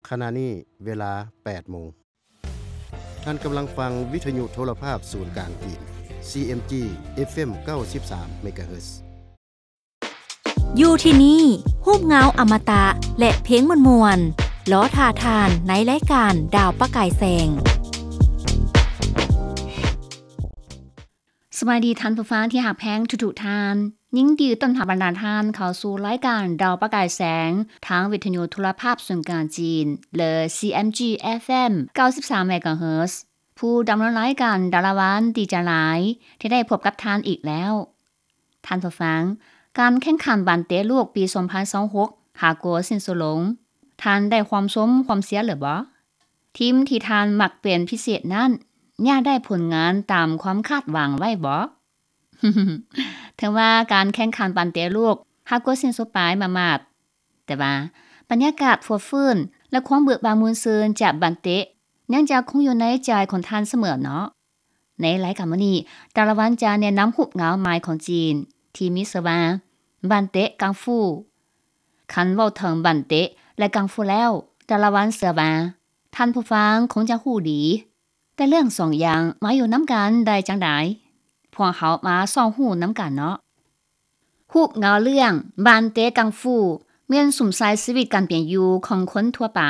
ຂະນະນີ້ເວລາແປດໂມງ. ທ່ານກຳລັງຟັງວິທະຍຸໂທລະພາບສູນກາງຈີນ ຊີເອັມຈີ ເອັຟເອັມ ເກົ້າສິບສາມ ເມກາເຮີດ. ຢູ່ທີ່ນີ້ ຮູບເງົາອະມະຕະ ແລະ ເພງມ່ວນໆ ລໍຖ້າທ່ານໃນລາຍການດາວປະກາຍແສງ. ສະບາຍດີທ່ານຜູ້ຟັງທີ່ຮັກແພງທຸກໆທ່ານ. ຍິນດີຕ້ອນຮັບບັນດາທ່ານເຂົ້າສູ່ລາຍການດາວປະກາຍແສງ ທາງວິທະຍຸໂທລະພາບສູນກາງຈີນ ຫຼື ຊີເອັມຈີ ເອັຟເອັມ ເກົ້າສິບສາມ ເມກາເຮີດ. ຜູ້ດຳເນີນລາຍການດາລະວັນ ດີໃຈຫຼາຍທີ່ໄດ້ພົບກັບທ່ານອີກແລ້ວ. ທ່ານຜູ້ຟັງ, ການແຂ່ງຂັນບານເຕະໂລກປີສອງພັນຊາວຫົກ ຫາກໍສິ້ນສຸດລົງ, ທ່ານໄດ້ຄວາມຊົມຄວາມເຊຍຫຼືບໍ່? ທີມທີ່ທ່ານມັກເປັນພິເສດນັ້ນ ຍາກໄດ້ຜົນງານຕາມຄວາມຄາດຫວັງໄວ້ບໍ່? ເຖິງວ່າການແຂ່ງຂັນບານເຕະໂລກຫາກໍສິ້ນສຸດໄປມາມາດ, ແຕ່ວ່າບັນຍາກາດຟວດຟື້ນ ແລະ ຄວາມເບີກບານມ່ວນຊື່ນຈາກບານເຕະ ຍັງຈະຄົງຢູ່ໃນໃຈຂອງທ່ານສະເໝີເນາະ. ໃນລາຍການມື້ນີ້, ດາລະວັນຈະແນະນຳຮູບເງົາໃໝ່ຂອງຈີນ ທີ່ມີຊື່ວ່າ ບານເຕະກັງຟູ. ຄັນເວົ້າເຖິງບານເຕະ ແລະ ກັງຟູແລ້ວ, ດາລະວັນເຊື່ອວ່າ ທ່ານຜູ້ຟັງຄົງຈະຮູ້ດີ. ແຕ່ເລື່ອງສອງຢ່າງມາຢູ່ນຳກັນໄດ້ຈັ່ງໃດ? ພວກເຮົາມາສ່ອງຮູ້ນຳກັນເນາະ. ຮູບເງົາເລື່ອງ ບານເຕະກັງຟູ ແມ່ນສຸມໃສ່ຊີວິດການເປັນຢູ່ຂອງຄົນທົ່ວໄປ.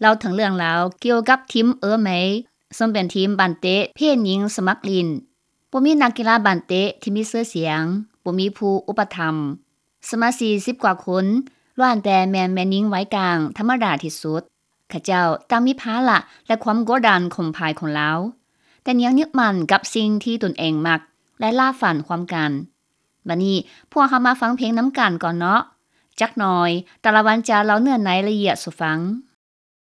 ເລົ່າເຖິງເລື່ອງລາວກ່ຽວກັບທີມເອີເມ ເຊິ່ງເປັນທີມບານເຕະເພດຍິງສະໝັກຫຼິ້ນ. ບໍ່ມີນັກກິລາບານເຕະທີ່ມີຊື່ສຽງ, ບໍ່ມີຜູ້ອຸປະຖຳ. ສະມາຊິກສິບກວ່າຄົນ ລ້ວນແຕ່ແມ່ນແມ່ຍິງໄວກາງທຳມະດາທີ່ສຸດ. ເຂົາເຈົ້າຕ່າງມີພາລະ ແລະ ຄວາມກົດດັນຂອງຝ່າຍຂອງລາວ, ແຕ່ຍັງຍຶດໝັ້ນກັບສິ່ງທີ່ຕົນເອງມັກ ແລະ ລາຝັນຮ່ວມກັນ. ບັດນີ້ພວກເຮົາມາຟັງເພງນຳກັນກ່ອນເນາະ. ຈັກໜ່ອຍ ດາລະວັນຈະເລົ່າເນື້ອໃນລະອຽດສູ່ຟັງ.